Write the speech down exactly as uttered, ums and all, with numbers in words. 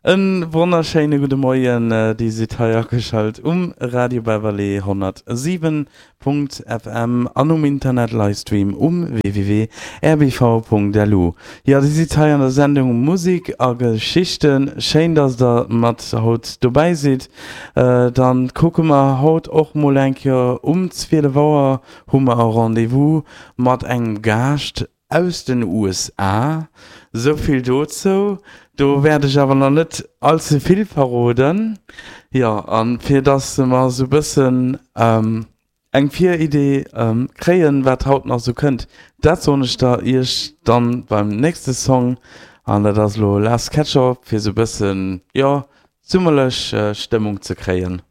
En wonnerschéine gudde Moien, Dir sidd hei ageschalt um Radio Beverley honnertsiwen Punkt F M an um Internet Livestream um W W W Punkt R B V Punkt L U. Jo, Dir sidd hei an der Sendung Musik a Geschichten. Schéin, dass der mat haut dobäi sidd. Dann kucke mer haut och mol eng Kéier, um zwielef Auer hu mer e Rendez-vous mat engem Gaascht aus den U S A. Souvill dozou. Do wäert ech awer nach net all ze vill verroden. Jo, a fir dass mer sou bëssen eng Viridee kréien, wat haut nach sou kënnt, dat soen ech da iech dann beim nächste Song. An dat ass elo Last Ketchup, fir sou bëssen, jo, summerlech Stëmmung ze kréien.